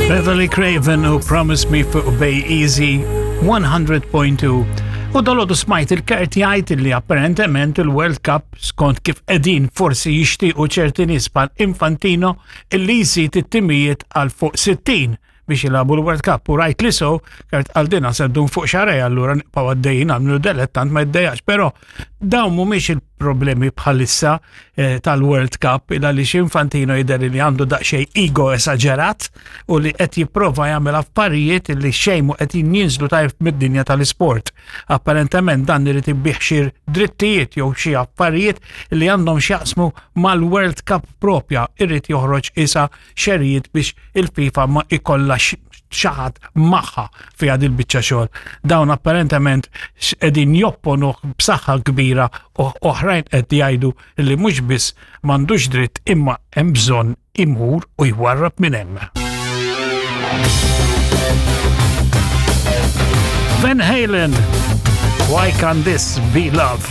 Beverly Craven u Promise Me fuq Bay Easy 100.2. U dalodu smajt il-Kurt jgħid li apparentement il-World Cup skont kif qegħdin forsi jixtiequ ċerti nies bħal Infantino illi jżid it-timijiet għal fuq 60 biex jilagħbu l-World Cup u rajt li so, Kurt għal din se ddum fuq xarej allura nibqgħu għaddejjin għamlu delettant ma jiddejjax, però dawn mhumiex il-problemi bħalissa eh, tal-World Cup il għaliex Infantino jidher li għandu daqsxejn ego esaġerat u li qed jipprova jagħmel affarijiet li xejn mu qed jinżlu tajb mid-dinja tal-isport. Apparentement dan irid ibih xi drittijiet jew xi affarijiet li għandhom x'jaqsmu mal-World Cup propja irid joħroġ isa xerijiet biex il-FIFA ma ikolla xaħat maħħa fi għad il-bicċa xogħol. Dawn apparentement qegħdin jopponu b'saħħa kbira u oħrajn qed jgħidu li mhux biss m'għandux dritt imma hemm bżonn imur u jwarrab minn hemm. Van Halen, Why Can't This Be Love?